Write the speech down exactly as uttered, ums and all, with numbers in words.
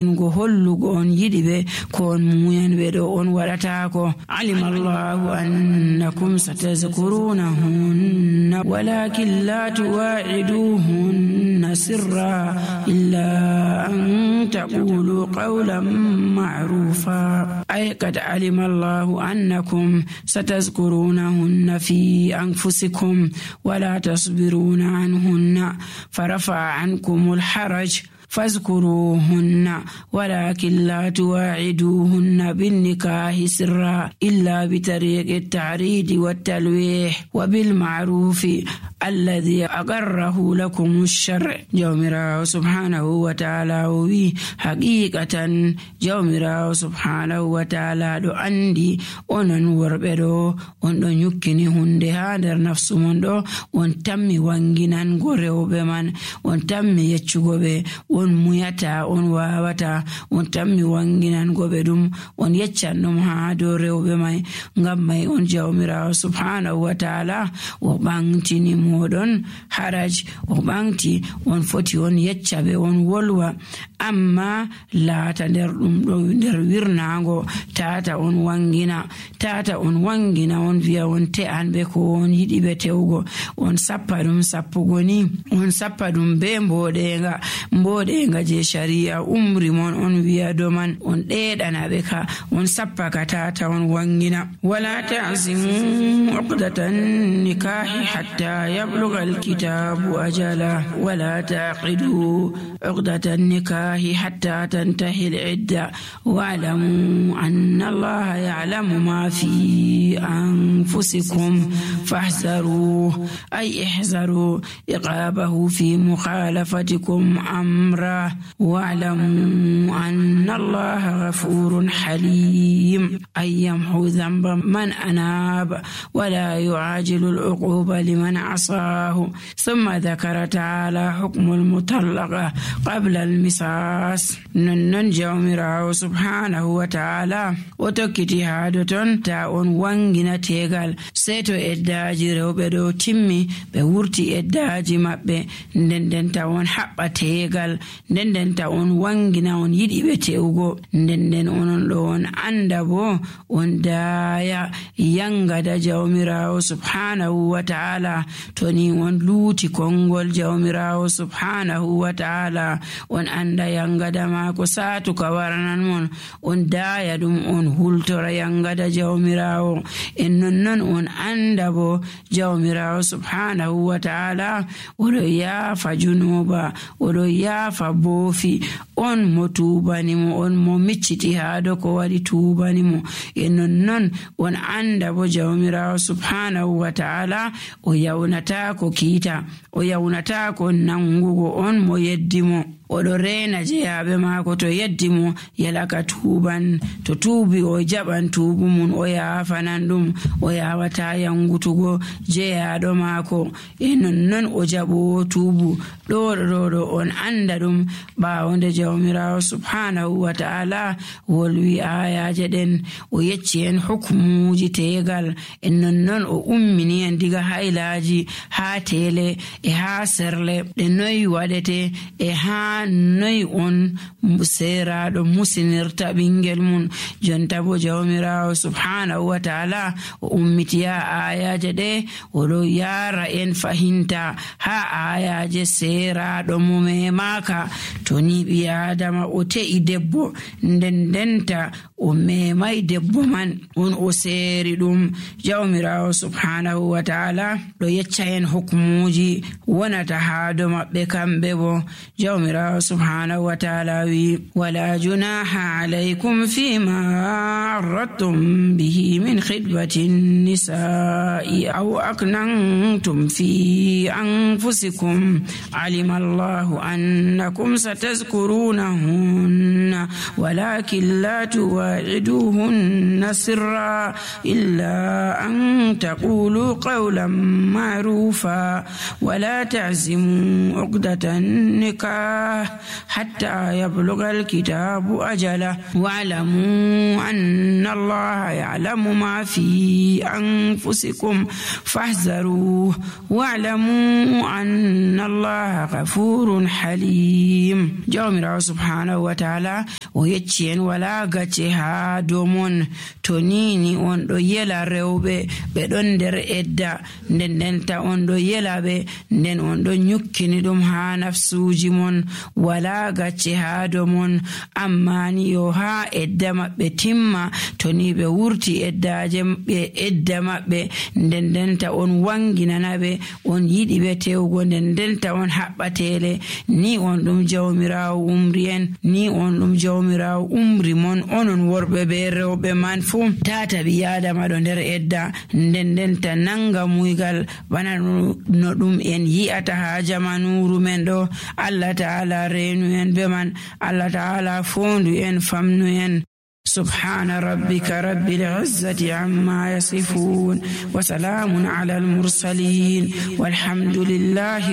go hollugo on yidi be ko on muyan be do on wadata ko. Alima Allahu annakum satazkurunahunna walakin la tuwa'iduhunna sirra illa an taqulu qawlan ma'rufa. Ay qad alima Allahu annakum satazkurunahunna fi anfusikum wala tasbiruna anhunna farafa ankumul haraj فاذكروهن ولكن لا تواعدوهن بالنكاح سرا إلا بطريق التعريض والتلويح وبالمعروف الذي أقره لكم الشرع. جومرا سبحانه وتعالى وي حقيقة جومرا سبحانه وتعالى دو أندي ونن وربدو ونن يكني هندي هادر نفس مندو ونتمي وانجنان غوريو بمن ونتمي يتشغو بي on muyata on wawata on tammi wanginan gobe dum on yeccannum ha do rewbe mai ngam mai on jawmirawo subhanahu wa ta'ala o bangtini modon haraj o bangti on foti on yeccabe on wolwa amma laata nder dum do nder wirnaango tata on wangina tata on wangina on viya on te'an be ko on yidi be tewgo on sappa dum sappugo ni on sappa dum be mbodenga mbode nga je sharia umri mon on wiya do man on deedana be ka on sappa ka tata on wangina. Wala ta'zimu uqdatan nikahi hatta yablugha alkitabu ajala wala taqidu uqdatan nikahi hatta tantahi al'idda wa'lamu anna allaha ya'lamu ma fi anfusikum fahzaru ay ihzaru iqabahu fi mukhalafatikum amra واعلموا أن الله غفور حليم أي يمحو ذنب من أناب ولا يعاجل العقوبة لمن عصاه. ثم ذكر تعالى حكم المطلقة قبل المساس. ننجو مراو سبحانه وتعالى وتكتي هادتون تاون وانجنا تيغال سيتو إداجي روبدو تيمي بورتي إداجي مبه ندن تاون حقا تيغال nden ta on wangina on yidi be tewgo nden onon do on anda bo on daya yanga da jawmirawo subhanahu wa ta'ala toni on luuti kongol jawmirawo subhanahu wa ta'ala on anda yanga da ma ko satu ka waranan mon on daya dum on hultora yanga da jawmirawo en non on anda bo jawmirawo subhanahu wa ta'ala odo ya fajunuba odo ya fa bofi on mo tubani mo on mo micciti haado ko wadi tubani mo e non non on anda bo jawmirawo subhanahu wa ta'ala o yawnata ko kiita o yawnata ko nangugo on mo yeddimo odo rena jeyabe mako to yeddimo yalaka tuban to tubi o jaban tubu mun o yafanan dum o yawata yangutugo jeyaado mako e non non o jabo tubu do do do on anda dum ba wonde jawmirawo subhanahu wa ta'ala wolwi ayaje den o yecci en hukmuji tegal en non non o ummini en diga hailaji ha tele e ha serle de noy wadete e ha noy on seraɗo musinirta ɓingel mun jonta bo jawmirawo subhanahu wa ta'ala o ummitiya ayaje ɗe oɗo yara en fahinta ha ayaje seraɗo mo memaka to ni ɓi adama o te'i debbo nden denta o memai debbo man on o seri ɗum jawmirawo subhanahu wa ta'ala ɗo yecca en hukmuji wonata ha do maɓɓe kamɓe bo jawmirawo subhanahu wa ta'ala wi wala junaha alaykum fima arradtum bihi min khidbati nisa'i aw aknantum fi anfusikum alima Allahu annakum satazkurunahunna ولكن لا تواعدوهن سرا إلا أن تقولوا قولا معروفا ولا تعزموا عقدة النكاح حتى يبلغ الكتاب أجله واعلموا أن الله يعلم ما في أنفسكم فاحذروه واعلموا أن الله غفور حليم. جامع سبحانه وتعالى ويتشين ولا غتها دومون تونيني on do yela rewbe be don der edda nden nden ta on do yela be nden on do nyukkini dum ha nafsuji mon wala gacce ha do mon amma ni yo ha edda mabbe timma to ni be wurti eddaje be edda mabbe nden nden ta on wanginana be on yidi be tewgo nden nden ta on habbatele ni on dum jawmirawo umrien ni on dum jawmirawo umri mon onon worbe be rewbe man fu tata bi adama do nder edda nden nden ta nanga muygal bana no dum en yi'ata ha jamanuru men do. Allah ta'ala reenu en be man, Allah ta'ala fondu en famnu en. سبحان ربك رب العزة عما يصفون وسلام على المرسلين والحمد لله